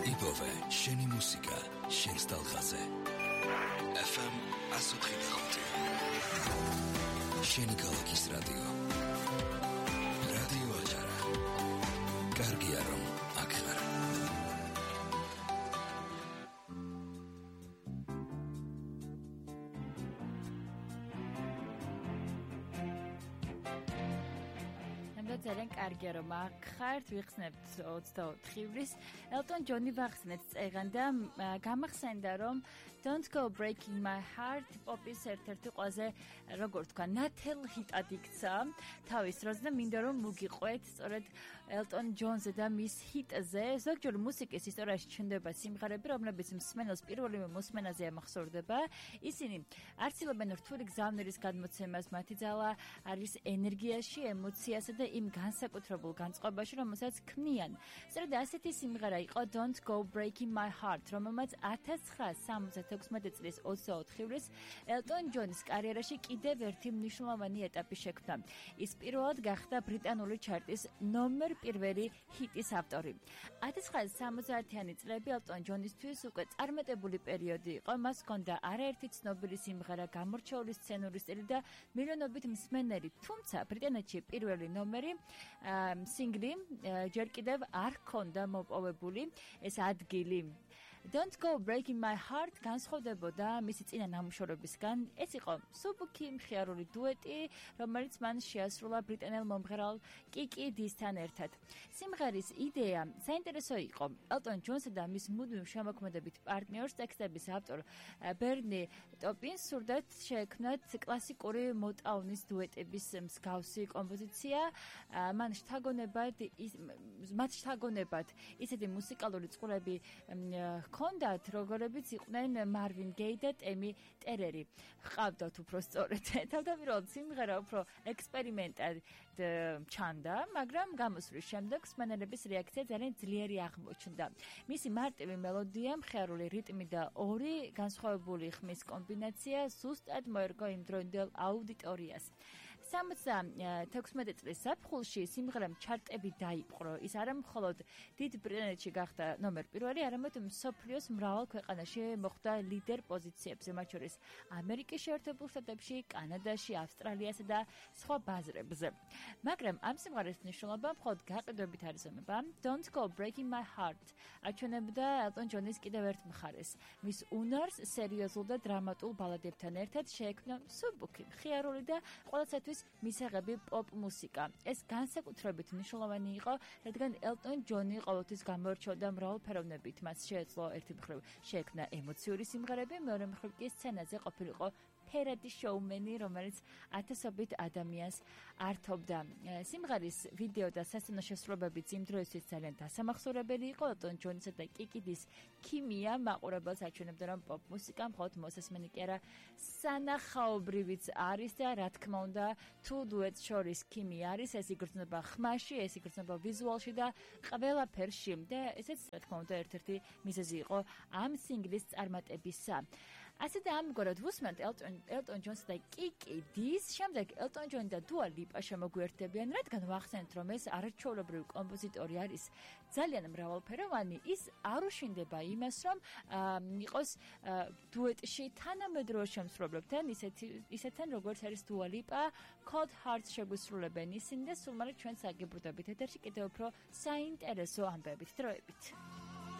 იპოვე შენი მუსიკა შენს ტალღაზე. FM 105. შენი ქალაქის რადიო. რადიო აჭარა. კარგია რომ აქ ხარ. ძალიან კარგია რომ აქ ხართ, ვიხსნებთ 24 ივრის. ელტონ ჯონი ვახსნეთ წეგან და გამახსენდა რომ Don't Go Breaking My Heart პოპის ერთ-ერთი ყველაზე როგორ თქვა ნათელ ჰიტად იქცა თავის დროზე და მინდა რომ მოგიყვეთ სწორედ ელტონ ჯონზე და მის ჰიტზე. ზოგჯერ მუსიკის ისტორიაში ჩნდება სიმღერები, რომლებიც მსმენელს პირველივე მოსმენაზე ამახსოვრდება. ისინი არცილობენ რთული გზავნილის გადმოცემას, მათი ძალა არის ენერგიაში, ემოციასა და იმ განსაკუთრებულ განწყობაში, რომელსაც ქმნიან. სწორედ ასეთი სიმღერა იყო Don't Go Breaking My Heart, რომელმაც 1976 წლის 24 ივრის ელტონ ჯონის კარიერაში კიდევ ერთი მნიშვნელოვანი ეტაპი შექმნა. ის პირველად გახდა ბრიტანული ჩარტის ნომერ პირველი ჰიტის ავტორი. 1970-იანი წლები ელტონ ჯონისთვის უკვე წარმატებული პერიოდი იყო. მას ჰქონდა არაერთი ცნობილი სიმღერა, გამორჩეული სცენური სტილი და მილიონობით მსმენელი. თუმცა ბრიტანეთში პირველი ნომერი სინგლი ჯერ კიდევ არ ჰქონდა მოპოვებული ეს ადგილი. Don't Go Breaking My Heart განსხვავდებოდა მისი წინა ნამუშევრებისგან. ეს იყო მსუბუქი მხიარული დუეტი, რომელიც მან შეასრულა ბრიტანელ მომღერალ კიკი დისთან ერთად. სიმღერის იდეა საინტერესო იყო. ელტონ ჯონსა და მის მუდმივ შემოქმედებით პარტნიორს, ტექსტების ავტორ ბერნი ტოპინს სურდათ შეექმნათ კლასიკური მოტაუნის დუეტების მსგავსი კომპოზიცია. მათ შთაგონებად ისეთი მუსიკალური წყურები ჰქონდათ, როგორებიც იყვნენ მარვინ გეი და ტემი ტერერი. ჰყავდათ უფრო სწორედ. თავდაპირველად სიმღერა უფრო ექსპერიმენტად ჩანდა, მაგრამ გამოსვლის შემდეგ მსმენელების რეაქცია ძალიან ძლიერი აღმოჩნდა. მისი მარტივი მელოდია, მხიარული რიტმი და ორი განსხვავებული ხმის კომბინაცია ზუსტად მოერგო იმდროინდელ აუდიტორიას. 76 წლის ზაფხულში სიმღერამ ჩარტები დაიპყრო. ის არა მხოლოდ დიდ ბრიტანეთში გახდა ნომერ პირველი, არამედ მსოფლიოს მრავალ ქვეყანაში მოხვდა ლიდერ პოზიციებზე, მათ შორის ამერიკის შეერთებულ შტატებში, კანადაში, ავსტრალიასა და სხვა ბაზრებზე. მაგრამ ამ სიმღერის მნიშვნელობა მხოლოდ გაყიდვებით არ იზომება. Don't Go Breaking My Heart აჩვენებდა ელტონ ჯონის კიდევ ერთ მხარეს. მის უნარს სერიოზულ და დრამატულ ბალადებთან ერთად შეექმნა მსუბუქი, მხიარული და ყველასათვის მისაღები პოპ მუსიკა. ეს განსაკუთრებით მნიშვნელოვანი იყო, რადგან ელტონ ჯონი ყოველთვის გამოირჩეოდა მრავალფეროვნებით. მას შეეძლო ერთი მხრივ შეექმნა ემოციური სიმღერები, მეორე მხრივ კი სცენაზე ყოფილიყო ფერადი შოუმენი, რომელიც ათასობით ადამიანს ართობდა. სიმღერის ვიდეო და სასცენო შესრულებებიც იმ დროისთვის ძალიან დასამახსოვრებელი იყო. ელტონ ჯონისა და კიკი დის ქიმია მაყურებელს აჩვენებდა, რომ პოპ მუსიკა მხოლოდ მოსასმენი კი არა, სანახაობრივიც არის და რა თქმა უნდა, თუ დუეტს შორის ქიმია არის, ეს იგრძნობა ხმაში, ეს იგრძნობა ვიზუალში და ყველაფერში. და ესეც რა თქმა უნდა ერთ-ერთი მიზეზი იყო ამ სინგლის წარმატებისა. ასე და ამგვარად ვუსმენთ ელტონ ჯონს და კიკი დის, შემდეგ ელტონ ჯონი და დუა ლიპა შემოგვიერთდებიან, რადგან ვახსენეთ, რომ ეს არაჩვეულებრივი კომპოზიტორი არის ძალიან მრავალფეროვანი, ის არ უშინდება იმას, რომ იყოს დუეტში თანამედროვე შემსრულებლებთან, ისეთთან როგორც არის დუა ლიპა, Cold Hearts შეგვისრულებენ ისინი და სულ მალე ჩვენ საგიბრუნდებით ეთერში კიდევ უფრო საინტერესო ამბებით, დროებით.